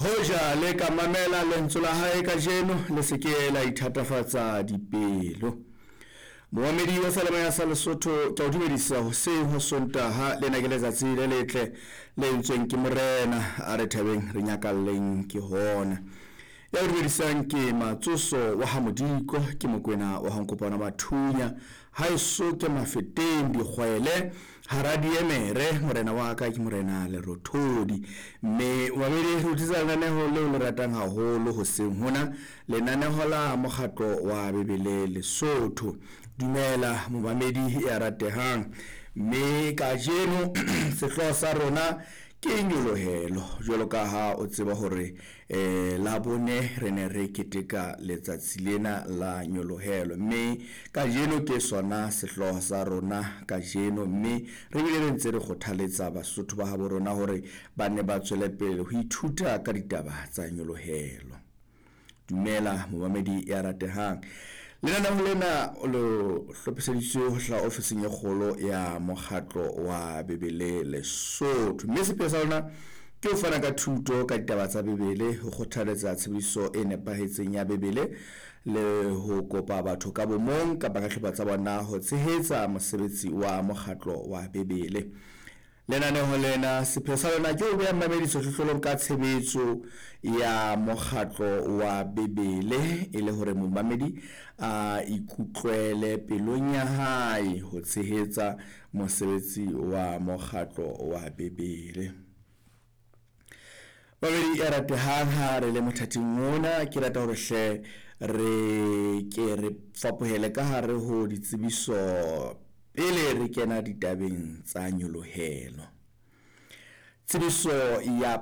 Hoja le ka mamela lentswe la hae kajeno, le se ke la ithatafatsa dipelo. Momamedi wa Salemaya sa Lesotho, ke a o dumedisa hoseng ho Sontaha. Lena ke letsatsi le letle le entsweng ke Morena, a re thabeng re nyakalleng ke hona. Ya o dumedisang ke Matsoso wa ha Modiko, ke Mokwena wa ha Nkopana Mathunya, haeso ke Mafeteng dikgwele hara diemere, morena wa ka ke morena Lerothodi. Mme mamedi, re utlwisa lenaneho leo le ratang haholo hoseng hona, lenaneho la mokgatlo wa Bebele Lesotho. Dumela momamedi ya ratehang, mme kajeno sehlooho sa rona ke nyolohelo. Jwalo ka ha o tseba hore la bone re ne re keteka letsatsi lena la nyolohelo, mme kajeno ke sona sehlooho sa rona kajeno. Mme re bile re ntse re kgothaletsa Basotho ba habo rona hore ba ne ba tswele pele ho ithuta ka ditaba tsa nyolohelo. Dumela momamedi ya ratehang, lenaneo lena lo hlophiseditswe ho hlaha ofising e kgolo ya mokgatlo wa Bebele Lesotho, mme sepheo sa lona ke ho fana ka thuto ka ditaba tsa Bebele, ho kgothaletsa tshebediso e nepahetseng ya Bebele, le ho kopa batho ka bomong kapa ka hlopha tsa bona ho tshehetsa mosebetsi wa mokgatlo wa Bebele. Lenaneho lena sepheo sa lona ke ho beha mmamedi sehlohlolong ka tshebetso ya mokgatlo wa Bebele, e le hore momamedi a ikutlwele pelong ya hae ho tshehetsa mosebetsi wa mokgatlo wa Bebele. Babedi ya ratehang, ha re le mothating ona, ke rata hore hle re ke re fapohele ka hare ho ditsebiso pele re kena ditabeng tsa nyolohelo. Tsebiso ya